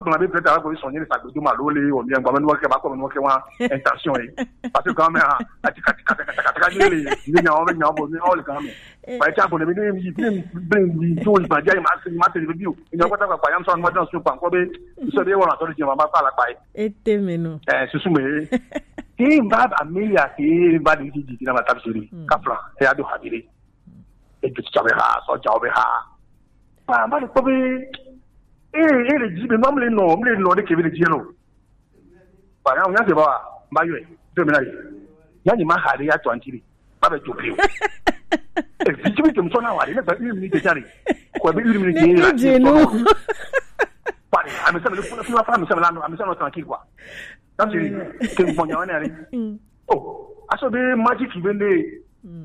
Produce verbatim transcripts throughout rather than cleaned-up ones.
Gblɔ be peut-être alo be sɔnye le sagbe do ma lo le o mi gba me no ke ba ko me no ke wa intention e. Parce que quand même, a ti ka ti ka ti ka ti ka ti le le ni nya o be nya o bo ni o le quand même. Ba ti abo ne bi ni bi ni bi ni to ba ja ma se ma se bi o. Ni ko ta pa ya so ma dan so pa ko be so be wa na to le ma pa la pa e. Ete me no. Eh, susu me. Ti ba ba me ya ti ba di di di na ma tabsiri. Ka fla e ado habire. E du ti be ha so ja o be ha. Ba ma le ko be. Eh, eh, le ji be ma me le no, me le no de ke be le ji no. Ba ya nya se ba ba yo e. Do me na le. Ya ni ma ha de ya to antiri. Ba be to bi o. E bi ti bi to so na wa de na ba une minute de jare. Ko be une minute de la. Pare, a me sa me le funa funa fa me sa me la no, a me sa no tranquille quoi. Tabsiri ke mo nya wa ne ale. Oh, aso be magic be ne.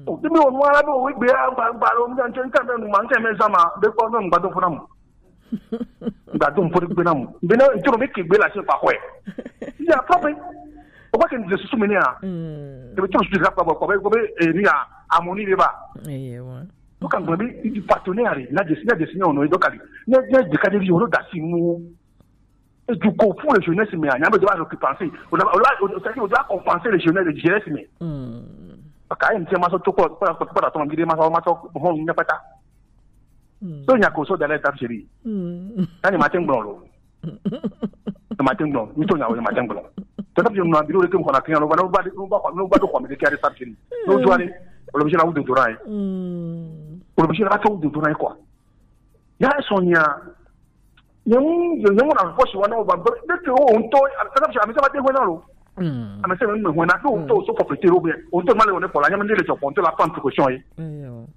Oh, de be o wa la be o gbe a gba gba lo mi kan kan be no man kan me sama be ko no gba do funa mo. Gba do fo gbe na mo. Be na to be ke gbe la se pa ko e. Ya pa be. O ba ke ni susu me ni a. E be to su ka pa ko be ko be e ni a amoni be ba. Eye wa. Donc, en gros, il partenaire, il a des, il a des signaux, on doit aller. Il y a, il y a des cas de vie, on doit assumer. Et du coup, pour les jeunesses, mais il y a besoin de compenser. On doit, on doit, on doit, c'est-à-dire, on doit compenser les jeunesses, les jeunesses, mais. Parce que, il y a un petit maçon, tout quoi, quoi, quoi, quoi, attends, il y a un maçon, maçon, bon, il n'y a pas ça. So, il y a qu'on soit dans l'étape chérie. Quand il matin, bon, le matin blanc, nous tournons le matin blanc. Tata bi na biro ke mo na kiyan lo ba lo ba lo ba lo ba do ko me ke ari sabjini. No jwani. O lo bi na wudu dora e. O lo bi na to wudu dora e kwa. Ya sonya. Nyamu nyamu na ko shi wa na o ba de ke o nto. Tata bi ami sa ba de ho na lo. Ami sa me ho na do to so ko pe te lo be. O to ma le o ne ko la nyamu de le to ko to la pan ko sho e.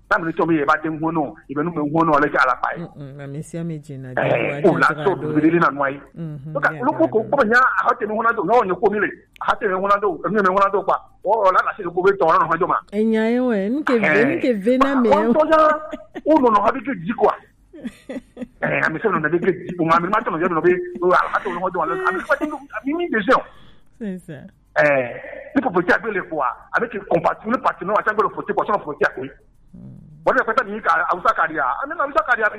Tam le to mi e ba de ho no, e be nu me ho no le ka la pa e. Mm, mm, ma mesi ame dzi na. Eh, o la to do de na no ai. Mhm. Ka lo ko ko ko nya ha te me ho na do, no ne ko mi le. Ha te me ho na do, me me ho na do pa. O la na si ko be to na no ha jo ma. Enya e we, nke ve, nke ve na me. O to ja. O no no ha bi ke di kwa. Eh, ami se no na be ke di, o ma mi ma to no yo no be. O ha to no ho do ma. Ami pa ti mi mi de se. C'est ça. Eh, ni popo ti agbe le kwa, avec compassion, ni partenaire wa ti agbe le foti kwa, so foti akwe. Bon, ni pata ni ka awusa kari a. Ami na awusa kari a bi.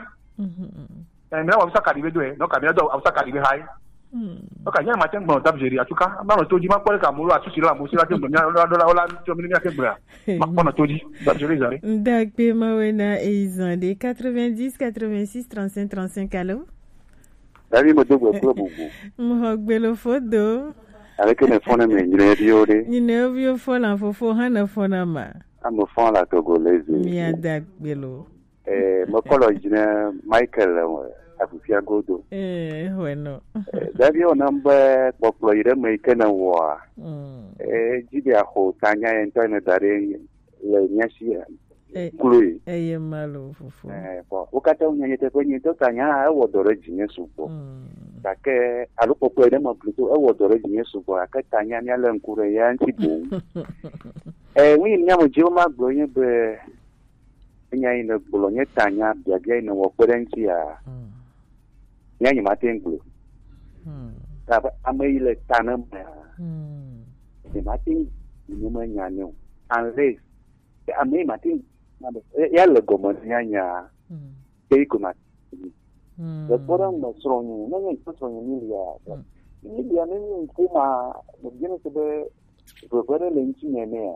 Eh, mi na awusa kari be do e. No ka mi na do awusa kari be hai. No ka nya matin bon tab jeri atuka. Ma no toji ma ko ka mu lo atusi la mu si la ke mi na do la ola to mi mi ke bra. Ma ko no toji tab jeri zare. Ndakpe ma we na eizan de quatre-vingt-dix, quatre-vingt-six, trente-cinq, trente-cinq, allô? Davi mo dogbo kuro bubu. Mo gbelo fodo. Aleke ne fone me nyine bi o de. Nyine bi o fo la fofo ha na fo na ma. Amo fo la togolese. Mi ada gbelo. Eh, mo kolo jine Michael, eh, Afufia Godo. Eh, bueno. Eh, davi o namba kpokplo ire me ke na wa. Eh, jibe a ho tanya en to ne dare le nyasi. Eh, Chloé. Eye malo fofo. Eh, bon, wo katã wonye nyateƒe nyuitɔ ta nya ewɔ dɔ ɖe dzinye sugbɔ. Gake alo kpɔkpɔe ɖe me plutôt ewɔ dɔ ɖe dzinye sugbɔ, gake ta nya míalé ŋku ɖe ya ŋuti boŋ. Eh, nu yi nya me dzi woma gblɔ nye be, enya yi nègblɔ nye ta nya biabia yi nèwɔ kpe ɖe ŋutia, nya nyemate ŋu gblɔ. Ta be ame yi le ta ne mea, nyemate ŋu gblɔ ne menya nɛ o. Unless ame yi mate ŋu, ya le gɔme ne nya nya. Ke yi ko ma. Le kpɔ ɖe ŋu me srɔ̃nye, ne nye ŋutɔ srɔ̃nye Milia. Milia ne nye ŋku ma, me biene se be veve ɖe le ŋuti nye nea?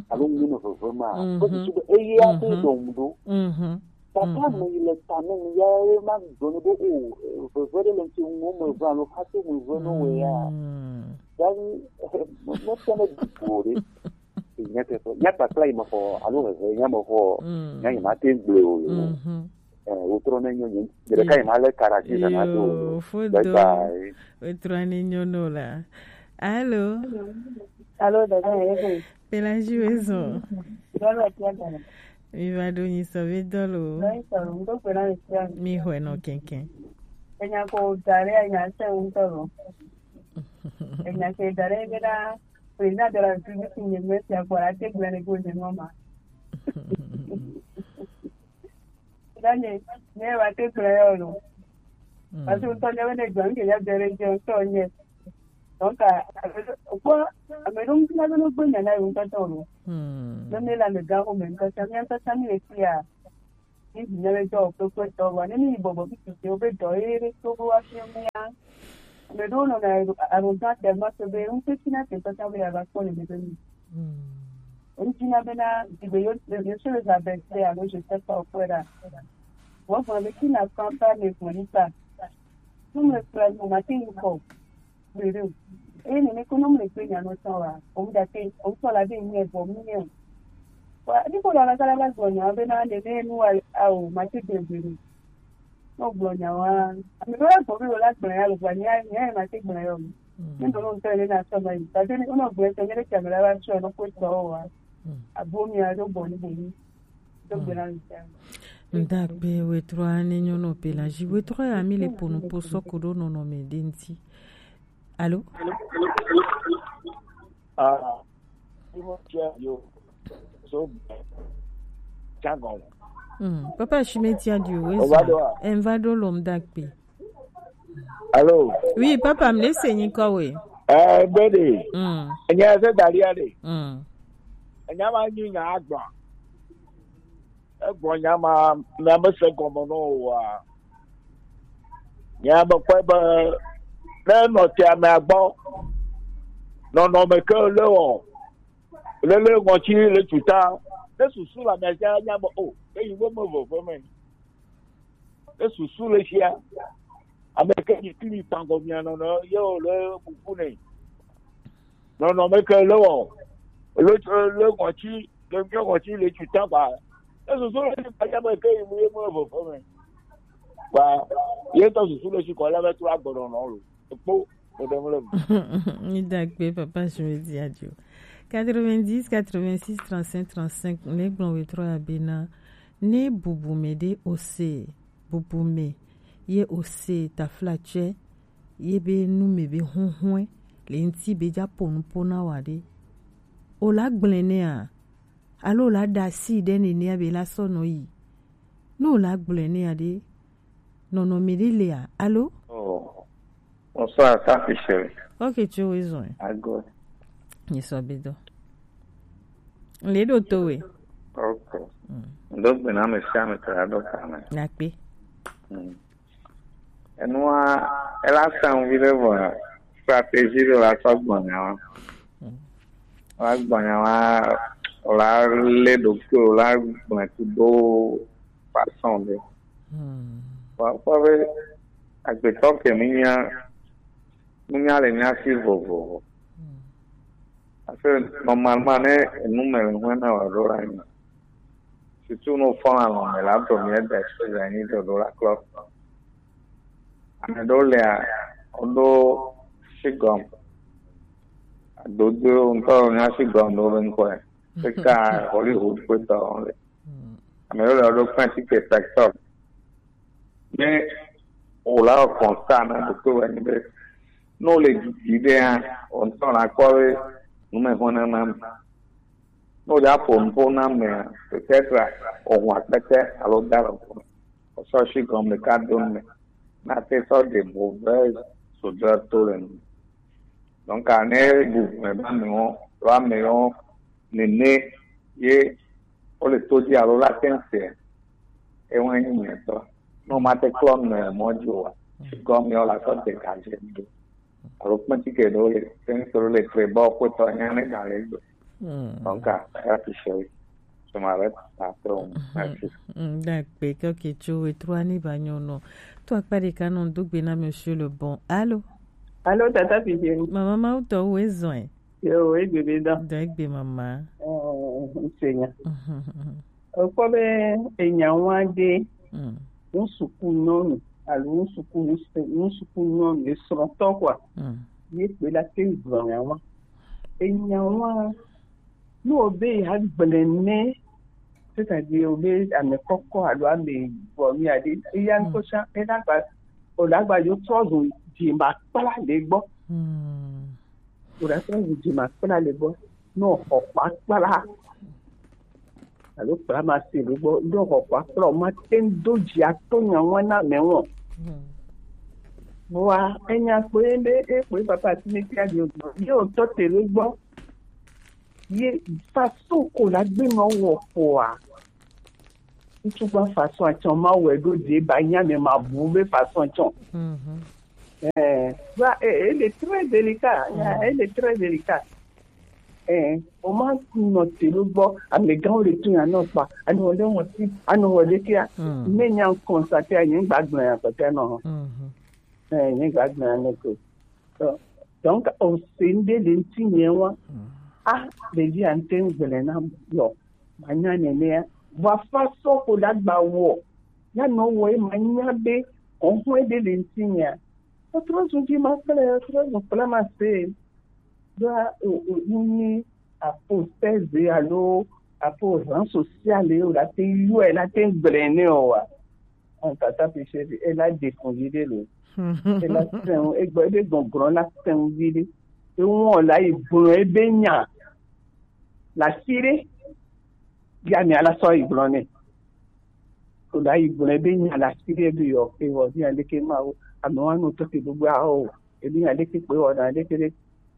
Alo ŋu ne veve ma? Ko susu be eye ate dɔ ŋu ɖo. Papa me yi le ta ne ŋu ya ye ma gblɔ ne be o, veve ɖe le ŋuti ŋu me ve alo hate me ve no we ya. Ya ni, me, me tɔ ne du o ɖe. Nyateƒe, nya kpakpla yi mexɔ alo hehe nya mexɔ, nya yi mate ŋu gblɔe o. Eh, wotrɔ ne nyo nye, nye ɖeka yi ma le karaji zana do o. Bye bye. Wotrɔ ne nyo no la. Alo. Alo, dada, ye ko. Pelagie we zɔn. Dɔlɔ tia dana. Mi va ɖo nyi sɔ ve dɔlɔ. Mi xɔe nɔ kɛnkɛn. Enya ko dare enya se ŋutɔ lo. Enya ke dare be na Président de la République nye me sia kpɔ la te gblẽ ne go ne nɔ ma. Danye, ne wa te gblẽ yo lo. Parce que ŋutɔ nye ne gblẽ ke ya dere je ŋutɔ nye. Donc, a, a, kpɔ, ame ɖewo ŋuti na be ne gbe nya na yewo ŋutɔ tɔ lo. Ne mi le amegã xo me ŋutɔ sia, mía ŋutɔ sia mi le fia. Ni zi nyɛ be dɔ o kpekpe tɔ wa ne mi yi bɔbɔ bi tete o be dɔ ye ɖe to bo wa fi mi ya. Ame ɖewo nɔna arrogant tellement que be ŋutsu na te tɔta be ya va kpɔ le be mi. Ŋutsu na be na di be yo yo se le za be se alo je sais pas o kpɛ ɖa. Wo gblɔ be qui n'apprend pas ne connaît pas. Nous me frère nous m'a fait une fois. Bere o. Eye nene ko nɔmle kpe nya nɔ tɔn wa. Omu da te, omu tɔ la be nyɛ bɔ mu nyɛ. Wa, ni ko la la kala la gbɔ nya be na nene nu wa, a o, ma te gbe bere. No gbɔ nya wa. Ami do la gbɔ be la gbɔ ya lo gba nya, nya ma te gbɔ ya o. Ni do no tɔ le na tɔ ma yi. Ta te ni ko no gbɔ tɔ nyɛ le kamera la tɔ no ko tɔ wa. Abo mi a do bɔ ni bɔ ni. Do gbɔ na mi ta. Ndakpe wetrɔ ane nyɔnɔ pelaji wetrɔ ya mi le ponu po sɔko ɖo nɔnɔme ɖe ŋti. Alo? Ah, Timothy yo, so, Tiago. Mm, papa shimeti adio we. Ovado a. Envado lom dakpe. Alo. Oui, papa, mi le se nyikɔ we. Eh, bede. Mm. Enya se dalia de. Mm. Enya ma nyi nya agba. Egblɔ nya ma, mia mese gɔme na wò oa? Mia mekpɔe be ne nɔ te amea gbɔ, nɔnɔme ke le wɔ, lele ŋɔtsi le tuta, ne susu le amea dzi anya be o, eyi wo me veve me. Ne susu le sia, ame ke yi kli tangɔ mia nɔnɔ ye o le bubu ne. Nɔnɔme ke le wɔ, le, le ŋɔtsi, le ŋɔtsi le tuta ba. Ne susu le si kanya me ke yi mu ye mu le veve me. Ba, ye tɔ susu le si kɔ la be to agbɔnɔ nɔ lo. Kpo, o de mu le. Mi da gbe papa je me dis adieu. Quatre-vingt-dix, quatre-vingt-six, trente-cinq, trente-cinq, ne gblɔ wetrɔ ya bena, ne bubu me ɖe ose, bubu me, ye ose taflatsɛ, ye be nu me be huhue, le ŋti be dza po nu po na wa ɖe. O la gblẽ nɛa? Alo o la ɖe asi ɖe nenea be la sɔ nɔ yi? Ne o la gblẽ nɛa ɖe, nɔnɔme ɖe lea? Alo? Oh, bonsoir, ça fait chérie. Ok, tu es raison. Ago. Ni sɔ be dɔ. Le ɖo to we. Ok. Mm. Ndo gbe na me sia me tra ɖo ka me. Na kpe. Mm. Enua, ela sã ŋu viɖe vɔ stratégie ɖe la sɔ gbɔna wa. La gbɔna wa, la lé ɖokui, la gbɔna tu do façon ɖe. Wa kpɔ be agbetɔ ke mi nya, mi nya le mia si vovovo. Parce que normalement, ne enu me le hɔn na wa ɖo la nyi. Surtout no fɔn alɔ me la do mi da so za ni do do la klɔ. Ame ɖewo lea, woɖo shigɔm. Adodo ŋutɔ nya shigɔm ɖewo be ŋkɔe. Eka Hollywood ƒe tɔ le. Ame ɖewo le woɖo kpɛn ticket pɛtɔ. Ne wòla wɔ constat na ɖokui wɔ nyi be, ne wòle didi ɖea, wò ŋutɔ la kpɔ be nu me hɔn na nam. Ne wòdze aƒo nuƒo na amea, peut-être òhun akpete alo da le ŋku me. Wòsɔ shigɔm ɖeka do nu me. Na te sɔ ɖe mauvaise odeur to le nu. Donc, ne bubu me be amewo, alo amewo nene ye wole to dzi alo la te ŋu se, ewoe nyi nyuitɔ. Ne womate klɔ nu le mɔ dzi oa, shigɔm ye wòla sɔ dégagé nu ɖo. Alo kpɛtike ɖewo le, sɛnsoro le tre bɔ kpotɔ nya ne ga le gbe. Donc, ah, ya tu chéri. Je m'arrête après, on. Merci. Dakpe, kɔke tso wetrua ni ba nyɔnɔ. To akpa ɖeka nɔ do gbe na monsieur le bon. Allô? Allô, tata Fidjeri. Mama Mawu tɔ wo ezɔe. Yo, egbe be dɔ. Dɔ egbe mama. Eh, nsenya. Ekpɔ be enya wa ɖe, mm, ŋsuku nyɔnu alo ŋsuku ŋsu-, ŋsuku nyɔnu esrɔ̃tɔ kɔa, mm, ye kpe la te gblɔ nya wa. Enya wa, ne wobe ya gblẽ nɛ, c'est-à-dire wobe ame kɔkɔ alo ame bɔ mi aɖe, eya ŋutɔ tsã, ena gba, wòle agba yo trɔ zu dzi ma kpla le gbɔ. Mm. Wòle trɔ zu dzi ma kpla le gbɔ. Ne wòxɔ kpakpla alo kpla ma se ɖo gbɔ, ɖo xɔ kpakpla o, ma te ŋu do dzi ato nya ŋua na mɛ ŋɔ. Hmm. Vɔa, enya kpo ye be, e kpo ye papa ti ne tia di o gbɔ. Ye o tɔ te ɖo gbɔ. Ye façon ko la gbe nɔ wɔ kpoa. Ŋutsu gba façon atɔn ma wɛ ɖo dze ba nya mɛ ma bu be façon atɔn. Mhm. Eh, ba, eh, elle est très délicate. Mm. Elle est très délicate. Eh, o ma nɔ te ɖo gbɔ, amegãwo le to ya nɔ kpa, anɔ ɖe ŋɔti, anɔ wɔ ɖe kia. Mm. Ne nya constate anyi gba gblɔ ya kpɛtɛ nɔ. Mhm. Eh, nye gba gblɔ ya nɔ ko. Donc, donc, o se ŋɖe le ŋuti nye wa. Mm. Ah, ɖevi a ŋte ŋgblẽ na yɔ. Manya nenea. Vɔ afa sɔ ko ɖagba wɔ. Ya nɔ wɔ ye manya be kɔnhɔn ɖe le ŋutinyea. Etrɔ zu dzi ma kple etrɔ zu kple ma se. Ɖoa o o nyi apostèse alo apo réseau social o la te yɔ la te gblẽ ne o wa. An tata pe se e la de kun yi de lo. E la sen e gbe de gbɔn gbɔn la sen yi de. E won la yi gbɔn e be nya. La sire. Ya mi ala sɔ yi gblɔ nɛ. Ko la yi gblɔ be nya la si ɖe bi yɔ ke wɔ bi nya ɖe ke ma wo. Ame wa no to ke gbogbo a o. Ebi nya ɖe ke kpe wɔ na ɖe ke ɖe.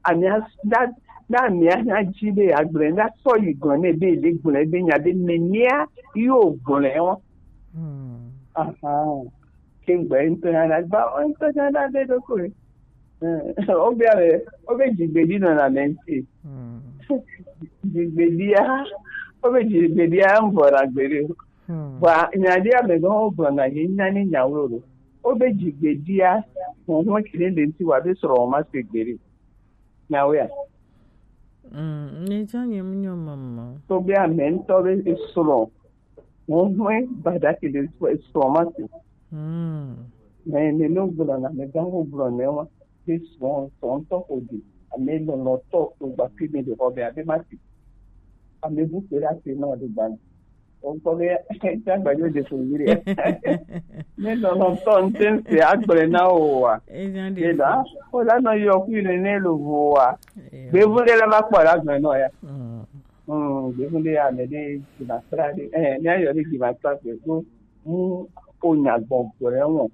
Ami a da da ami a nya dzi be agblɔ na sɔ yi gblɔ nɛ be le gblɔ be nya be me nia yo gblɔ wa. Hmm. Aha. Ke gbe ŋutɔ nya da gba ŋutɔ nya da be ɖo ko. Eh, wobia be, wobe dzigbedi nɔna ame ŋuti. Hmm. Dzigbedia, wobe dzigbedia ŋvɔ na gbeɖe. Hmm. Vɔa, nya ɖe ame gã wogblɔ na nye nya ne nyawo lo. Wobe dzigbedia, huhun ke ne le ŋuti wa be srɔ̃ ma se gbeɖe. Nyawo ya. Hmm, ne dza nye mu nyɔ mama. To be ame ŋutɔ be srɔ̃. Huhun ba da ke le srɔ̃ ma se. Hmm. Mais ne no gblɔ na ame gã wogblɔ ne wa. Be srɔ̃ srɔ̃tɔ ko di ame lɔlɔtɔ ko gba fi mi de xɔ be abe ma ti ame bu pe la ti nɔ de gba o kɔ be ta gba yo de so yiri ne lɔlɔtɔ n te se agble na o wa. Eza de de la o la no yo ku ne ne lo vo wa. Be bu de la ma kpɔ la gbe no ya. Mm. Mm, be bu de ya me de ki ma tra de eh ne yo de ki ma tra de ko mu o nya gbɔ gbɔ re won.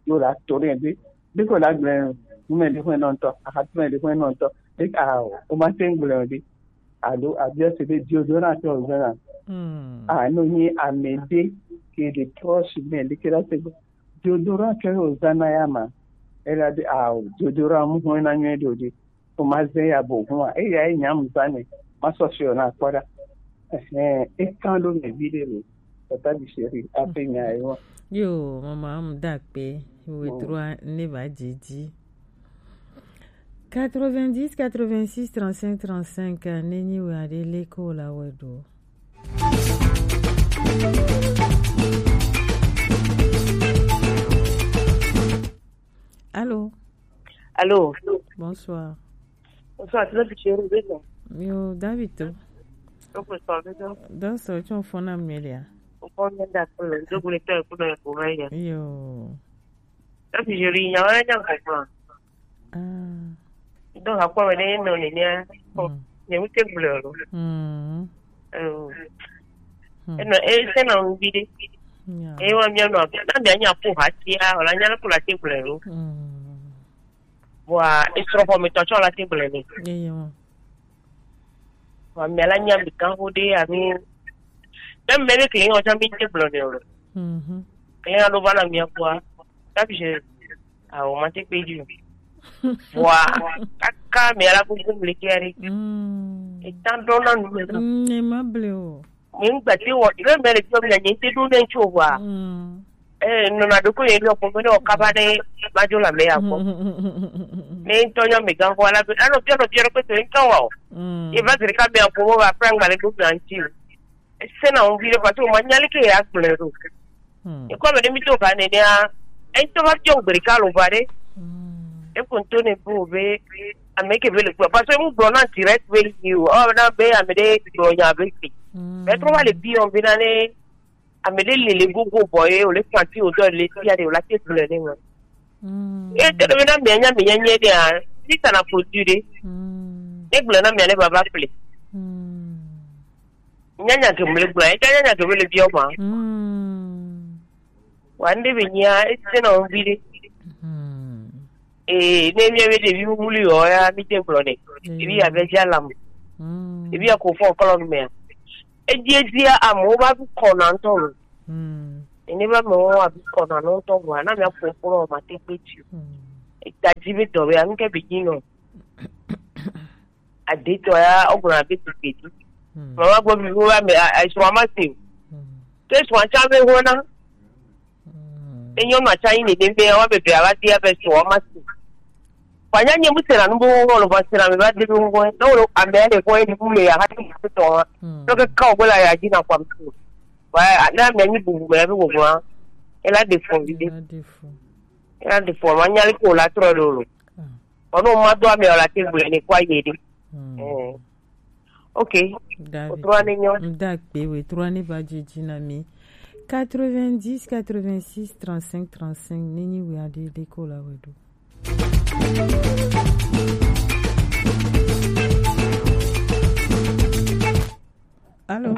Yo la to ne be Biko la gblẽ nume ɖe ƒe nɔtɔ, axatime ɖe ƒe nɔtɔ, ɖe a o ma te ŋgblẽ o ɖe. Alo abiɔ se be deodorant ke wòzãna. Hmm. A no nyi ame ɖe ke ɖe proche me ɖe ke la se be deodorant ke wòzãna ya ma. Ela be a o deodorant mu hɔn na nyuie ɖe o ɖe. O ma zẽ ya bo hɔn a. Eya ye nyam zã ne. Ma sɔ fiɔ na kpɔ ɖa. Ehe, e kan ɖo me vi ɖe lo. Tata bi chéri, ape nya ye wa. Yo, mama, am da kpe. Wo trua ne va didi. Quatre-vingt-dix, quatre-vingt-six, trente-cinq, trente-cinq, ne nyi wa de le ko la we do. Allô? Allô? Bonsoir. Bonsoir, tu l'as dit chéri, oui, non? Yo, David. Donc, bonsoir, oui, non? Donc, c'est un phone à Amelia. Au fond, il y a d'accord, je voulais faire pour le pour rien. Yo. Là, si je lis, il y a rien à comprendre. Ah. Donc, à quoi on est, non, il y a, bon, il y a où c'est que vous le, hmm. Euh, hmm. Et non, et c'est non, vous dites, yeah. Et on vient, non, non, bien, il y a pour hâter, on a rien pour la table, hmm. Vɔa esrɔ̃ xɔmetɔ tsɔ la te gblẽ nɛ. Eye mo. Vɔa mia la nya mi kan ho ɖe ami. Ne mɛ ɖe kle ŋɔ tsɔ mi te gblɔ nɛ o. Mhm. Kle ŋɔ ɖo va na mia kua. Tapi je. Awo ma te kpe dzi o. Vɔa kaka mia la gbogbo mle kia ɖe. Mm. Etan ɖo na nu me. Mm, ne ma ble o. Nye ŋgbate wɔ, ne mele biɔ mia nye ŋte ɖo ne ŋtsi o wa. Mm. Eh, nɔna ɖo ko ye biɔ kpɔ ne o kaba ne ma dzo la me ya kpɔ. Ne ŋtɔ nya me gan ko ala be, ano biɔ no biɔ ko to ŋtɔ wa o. Mm. E va zere ka me ko wa pra ngba le do mia ŋtsi. E se na ŋvi le pa to ma nya le ke ya gble do. Mm. E ko me ne mi to ka ne ne a. E to ma biɔ gbe ka lo ba de. Mm. E ko to ne bo be ame ke be le kpɔ, parce que mu gblɔ na direct be yi o, ɔ na be ame ɖe gblɔ nya be fi. Mm. Mais trɔ va le bi ɔn be na ne ame ɖe le le gogo bɔ ye o le kpanti o dɔ le ti ya de o la te gblɔ ne ma. Mm. E te ɖe be na mia nya mia nye de a, si ta na produit de. Mm. E gblɔ na mia ne baba ple. Mm. Nya nya ke mu le gblɔ, e nya nya ke mu le bi ɔn ma. Mm. Wa ŋɖe be nyia, ete nɔ ŋvi ɖe. Hmm. Ee, ne mia be ɖevi wuli yɔ ya, mi te gblɔ nɛ. Hmm. Ɖevi ya be dza lam. Hmm. Ɖevi ya ko fɔ kɔlɔ nu mea. Edi edi ya amewo va bu kɔ na ŋutɔ lo. Hmm. Ene va me wo abi kɔna no tɔ gwa na mi apo kuro ma te pe ti. Hmm. Ita ji be dɔ be anu ke bi ji no. Ade tɔ ya o gura be ti pe ti. Hmm. Mama gbo bi wo ba me a so ma se. Hmm. Ke so cha be ho na. Hmm. Enyo ma cha ni de be wa be be aba ti ya be so ma se. Fanya nye mu sera nu bo wo lo ba sera me ba de bo wo. No lo ambe le ko ni mu le ya ha ti to. Hmm. To ke ka o la ya ji na kwa mtu. Wa na me ni bu me be wo wa. Ela de fo bi de. Ela de fo. Ela de fo ma nya le ko la tro lo lo. Ah. Ono ma do ame ola te gbe ni kwa ye de. Hmm. Eh. Ok. David. Otrua ni nyo. Ndakpe we trois ni ba jiji na mi. Quatre-vingt-dix, quatre-vingt-six, trente-cinq, trente-cinq, nini we ade de ko la we do. Allô?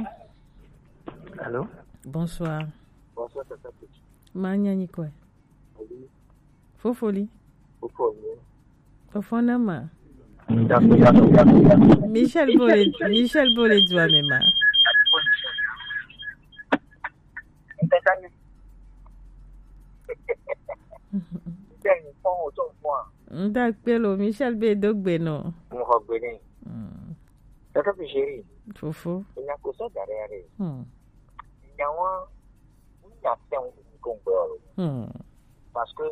Allô? Bonsoir. Bonsoir, Tata Petit. Ma nyanyi kwe? Fofoli. Fofoli. Fofona ma. Michel Bole, Michel Bole Dua me ma. Ndakpe lo, Michel be do gbe no. Mo ho gbe ni. Hmm. Tata Petit chéri. Fofo. Enya ko so dare are. Hmm. Enya wa, enya se un ko ngbe oro. Hmm. Parce que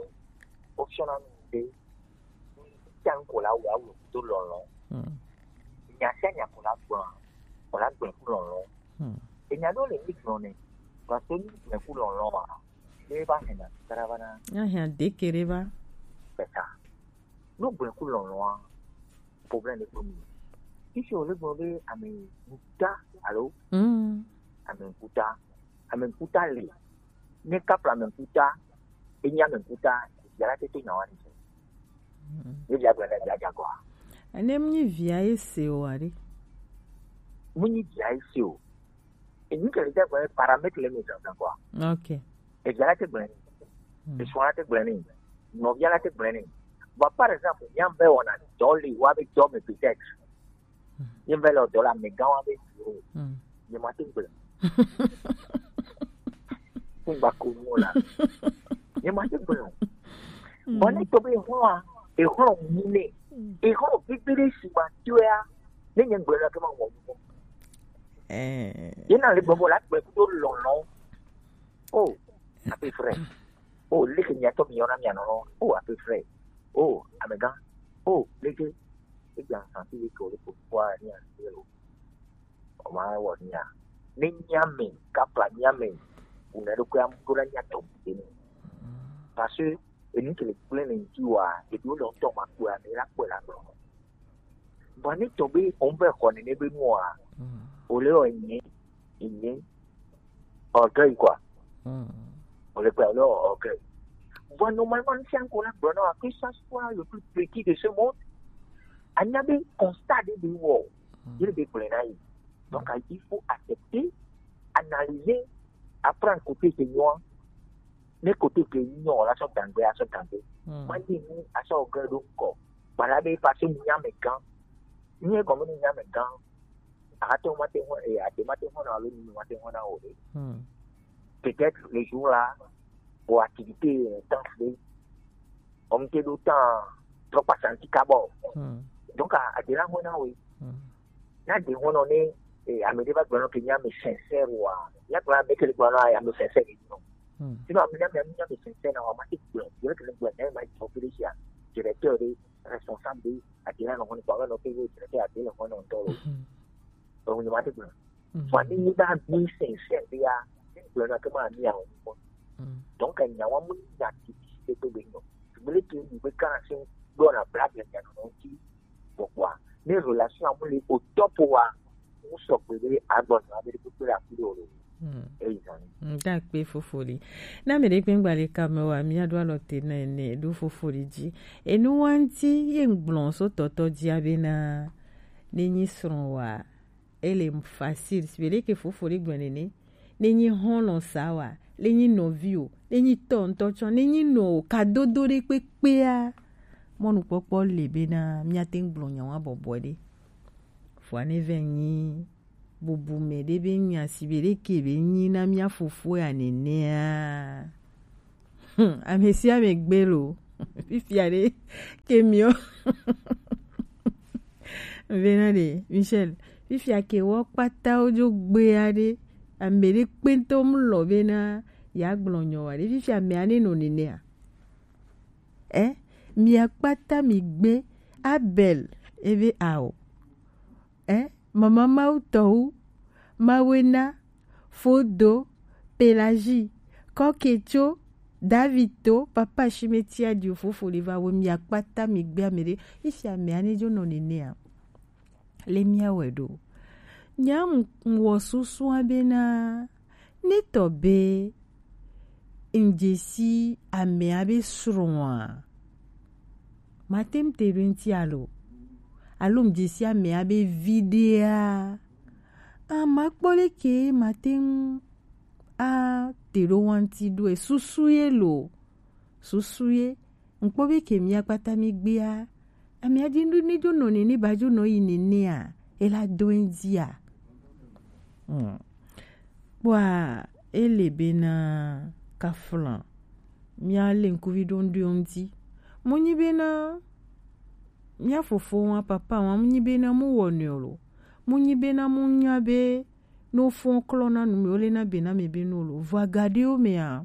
option a mi de, nya ko la wa wo to lo lo. Hmm. Nya se nya ko la gbo. Ko la gbo ku lo lo. Hmm. Enya do le mi gbo ni. Parce que ni gbo ku lo lo wa. Le ba he na, tara ba na. Ya he de kere ba. Pesa. No gbo ku lo lo wa. Problème de commune. Ici, on le gbe ame ŋkuta, alo? Mm. Ame ŋkuta. Ame ŋkuta le. Ne kapla ame ŋkuta, enya ame ŋkuta, yala tete na wani. Mm. Ne dia gbe na dia dia kwa. Ene mnyi via ese o ari. Mnyi via ese o. Enyi ke le dia gbe paramètre le mi zan kwa. Ok. Evia la te gblẽ ni. Hmm. Esrɔ̃ la te gblẽ ni. Nɔvia la te gblẽ ni. Bon, par exemple, nyam be wɔna dɔ le wa be dɔ me peut-être. Hmm. Nyam be le dɔ la me gan wa be dɔ. Hmm. Nye ma te gblẽ. Fún gba ko nu la. Nye ma te gblẽ o. Hmm. Bon, ne to be hɔn a, e hɔn mu ne. Hmm. E hɔn bibiri si ma to ya. Ne nye gblẽ la ke ma wɔ mu. Eh. Ye na le gbɔgbɔ la gbe kudo lɔlɔ. Oh, à peu près. Oh, leke miatɔ mi yɔna mia nɔnɔ. Oh, à peu près. Oh, amegã. Oh, leke. Egba santi leke o le ko kwa ni a se lo. O ma wɔ ni a. Ne nyame, kapla nyame. Una do kwa mdo la nyatɔ. Parce que enu ke le gblẽ le ŋuti wa, eɖewo le ŋutɔ ma kpɔe, ame la kpɔe la gblɔ. Vɔ ne tɔ be wɔn be xɔ nene be nua, o le wɔ enyi, enyi, orgueil quoi. O le kpɔe, o le wɔ orgueil. Vɔ normalement, ne sia ŋkɔ la gblɔ na wa, que ça soit le plus petit de ce monde, anya be constat de be wɔ, ye be gblẽ na yi. Donc, il faut accepter, analyser, apprendre côté ke nyɔa. Ne côté ke nyɔ la sɔ dangbe, asɔ dangbe. Hmm. Ma di ni asɔ ge do ko. Bala be pa se nya me gan. Ni e ko me nya me gan. A to ma te ho e, a te ma te ho na lo ni ma te ho na o de. Hmm. Peut-être le jour là, pour activité intense de, on te do temps trop passé anti kabo. Hmm. Donc, a, a de la ho na oui. Hmm. Na de ho no ne, eh, ame de ba gblɔ ke nya me sincère wa. Ya gblɔ ame ke le gblɔ na ya me sincère ni no. Hmm. Sinon, ame nya me, nya me sincère na wa ma ti gblɔ. Yo ke le gblɔ na ma ti officiel. Directeur de, responsable de, a de la no ho ni kwa no ke yo directeur a de la ho no to lo. Hmm. O ni ma ti gblɔ. Hmm. Wa ni ni ba mi sincère de ya. Gblɔ na ke ma mi a o. Hmm. Donc, nya wa mu na ti ti to be no. Gbele ke ni be kana se do na blague nya no ti. Gbɔgbɔa, ne relation amu le au top wa, mu sɔgbe be agbɔnɔ abe ɖe kpekpe le afi ɖe o le. Hmm. Eyi zan. Nda kpe fofoli. Na me ɖe kpe ŋgba le kame wa, mia ɖo alɔ te na ene ɖo fofoli dzi. Enu wa ŋti ye ŋgblɔ so tɔtɔ dzi abe na ne nyi srɔ̃ wa. Ele facile, si be ɖe ke fofoli gblɔ nene. Ne nyi hɔlɔ̃ sa wa, ne nyi nɔvi o, ne nyi tɔ ŋutɔ tsɔ, ne nyi nɔ o, kadodo ɖe kpekpea, mɔnukpɔkpɔ le bena míate ŋu gblɔ nya wa bɔbɔe ɖe. Vɔa ne vɛ nyi bubu mɛ ɖe be nya si be ɖe ke be nyi na mía fofo ya nɛnɛa. Hmm, ame sia ame gbe lo. Fifia ɖe ke miɔ. Vena ɖe, Michel, fifia ke wɔ kpata wo dzo gbea ɖe. Ame ɖe kpɛntɔ mu lɔ bena ya gblɔ nyɔ wa ɖe. Fifia ame ane nɔ nɛnɛa. Eh, mia kpata mi gbe Abel ebe ao. Eh, mama Mawu tɔwu, Mawena, Fodo, Pelagie, Kɔketso, Davito, papa Shimeti adio fofo le va wo mia kpata mi gbe ame ɖe. Isi ame ane dzo nɔ nɛnɛa. Le mia wɛ ɖo. Nya ŋ-, ŋ wɔ susua bena, ne tɔ be ŋdzesi amea be srɔ̃a, mate ŋu te ɖo eŋuti alo, alo ŋdzesi amea be viɖea, a makpɔ leke mate ŋu a te ɖo wa ŋuti ɖo e susu ye lo, susu ye. Ŋkpɔ be ke mia kpata mi gbea, amea di nu ne dzo nɔ nene ba dzo nɔ yi nenea, e la do eŋuti a. Hmm. Kpɔa, ele bena kaflan. Mia le ŋkuvi ɖo ŋɖo ŋuti. Mu nyi bena mia fofo wa, papa wa, mu nyi bena mu wɔ nɛ o lo. Mu nyi bena mu nya be no fɔn klɔ na nu me, o le na be na me be no lo. Vɔ agaɖewo mea,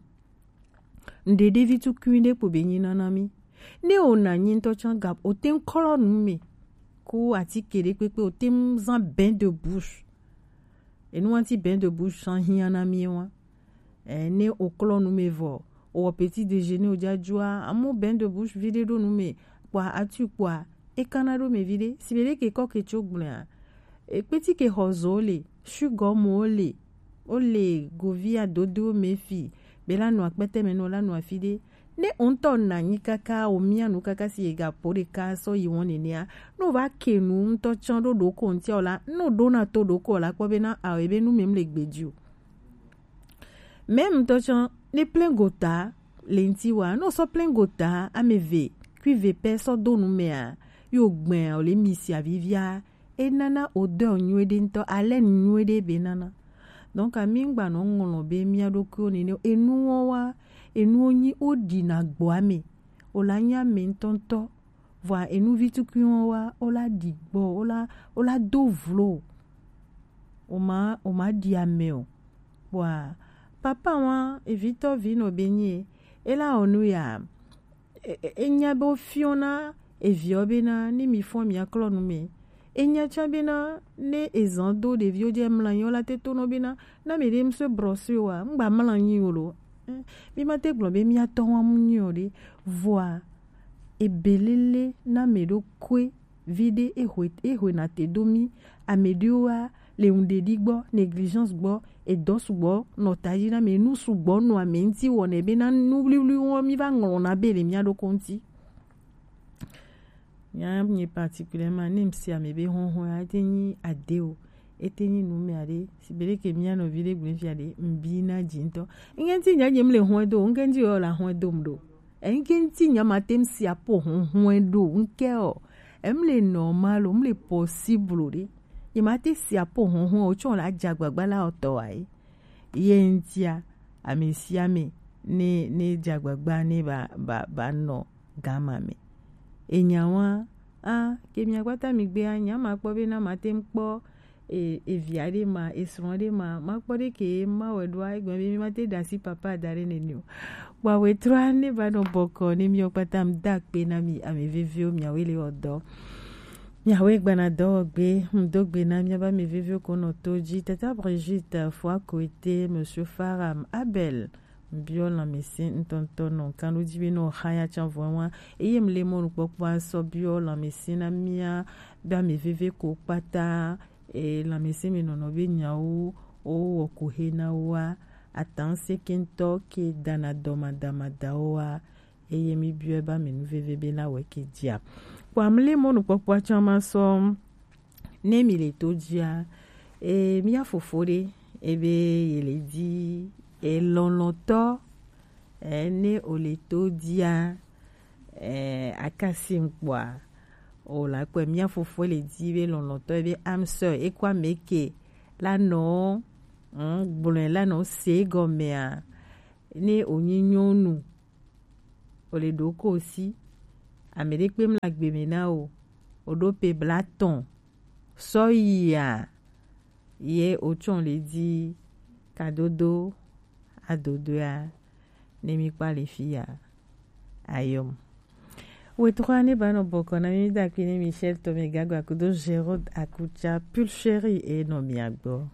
ŋɖeɖe vi tukui ɖe kpo be nyi na na mi. Ne o na nyi ŋutɔ tsã ga, o te ŋu klɔ nu me. Ku atike ɖe kpekpe, o te ŋu zan bain de bouche. Enu wanti bain de bouche sã hiã na mi wa. Eh, ne o klɔ nu me vɔ, o wɔ petit déjeuner o dza dzua, amu bain de bouche vi ɖe ɖo nu me, kpɔa atu kpɔa, e kana ɖo me vi ɖe. Si be ɖe ke kɔ ke tso gblɔa, e kpeti ke xɔ zo le, sugɔ mo le, o le govia dodo me fi, be la nɔ akpɛtɛ me nɔ la nɔ afi ɖe. Ne o ŋutɔ na nyi kaka, o mia nu kaka si e ga po ɖeka sɔ yi wɔn nenea, no va ke nu ŋutɔ tsã ɖo ɖo ko ŋutia o la, no ɖo na to ɖo ko la kpɔ be na a o ebe nu me mle gbe dzi o. Même ŋutɔ tsã, ne plein gota le ŋuti wa, ne o sɔ plein gota ame eve, kui ve pɛ sɔ do nu mea, yo gbɛa, o le misi avivia, e nana odeur nyuie ɖe ŋutɔ, haleine nyuie ɖe be nana. Donc, ami ŋgba nɔ ŋlɔ be mia ɖokuiwo nene, enuwo wa, enuwo nyi o ɖi na gbɔ ame, o la nyi ame ŋutɔ ŋutɔ. Vɔa enu vi tukui wa, o la ɖi gbɔ, o la, o la do vlo. O ma, o ma ɖi ame o. Kpɔa, papa wa, evitɔ vi nɔ be nyi, e la wɔ nu ya, e, e, e nya be o fiɔ na eviɔ be na, ni mi fɔn mi aklɔ nu me. E nya tsã be na, ne e zan do ɖeviwo dze mla nyi o la te to nɔ be na, na me ɖe ŋusɔ brɔsi o wa, ŋgba mla nyi o lo. Eh, mi ma te gblɔ be mia tɔ wa mu nyi o ɖe. Vɔa, ebelele na me ɖo kue vi ɖe ehwe, ehwe na te do mi. Ame ɖewoa, le ŋɖeɖi gbɔ, négligence gbɔ, edɔ sugbɔ nɔ taji na me, nu sugbɔ nɔ ame ŋuti wɔnɛ be na nu wliwli wɔ mi va ŋlɔ na be le mia ɖoko ŋuti. Nya nye particulièrement, ne mi si ame be hɔhɔ ya, ete nyi ade o, ete nyi nu me aɖe, si be ɖe ke mia nɔvi ɖe gblẽ fia ɖe, ŋbi na dzi ŋutɔ. Ŋke ŋuti nya nye mle hɔe do, ŋke ŋuti yɔ la hɔe dom ɖo. Ŋke ŋuti nya ma te ŋu si apo hɔhɔe ɖo, ŋke o. Emle normal o, mle possible ɖe. Nye ma te si apo hɔhɔe o, tsɔ la dza gbagba la ɔtɔ wa ye. Ye ŋutia, ame sia ame ne, ne dza gbagba ne ba, ba, ba nɔ gama me. Enya wa, a, ke mia kpata mi gbea, nya ma kpɔ be na ma te ŋu kpɔ e, evia ɖe ma, esrɔ̃ ɖe ma, ma kpɔ ɖe ke ma wɛ ɖoa, egbe be mi ma te ɖe asi papa da ɖe nene o. Kpɔa wetro ne va nɔ bɔkɔ ne mi kpata mi da akpe na mi ame veviwo miawoe le wɔ dɔ. Miawoe gbana dɔwɔgbe, ŋdo gbe na miabe ame veviwo ko nɔ to dzi. Tata Brigitte, Fua Koete, Monsieur Faram, Abel, biɔ lãmesẽ ŋutɔŋutɔ nɔ kan ɖo dzi be nɔ xa ya tsã vɔ wa. Eye mle mɔnukpɔkpɔa sɔ biɔ lãmesẽ na mia be ame veve ko kpata, e, lãmesẽ me nɔnɔ be nyawo, wo wɔ ko he na woa, atan se ke ŋutɔ ke dana dɔmadamadawoa, eye mi biɔe be ame nu veve be la wɛ ke dzia. Kpɔa mle mɔnukpɔkpɔa tsã ma sɔ ne mi le to dzia, e, mia fofo ɖe, ebe ye le di, e, lɔlɔtɔ, e, ne o le to dzia, e, akasi ŋkpɔa, o la kpɔe, mia fofo le di be lɔlɔtɔ, ebe âme sœur, e kɔ ame ke, la nɔ, mm, gblɔe la nɔ se gɔmea, ne wònyi nyɔnu, wòle ɖo kosi, ame ɖe kpe mla gbe me na wò, wòɖo pe blatɔn sɔ yia, ye wòtsɔ le di kadodo adodoa, ne mi kpa le fi ya, ayɔm. Wetrɔ ne ba nɔ bɔkɔ na mi, mi da kpi ne Michel Tomé Gagba kudo Gérard Akucha, Pulchérie e nɔ mia gbɔ.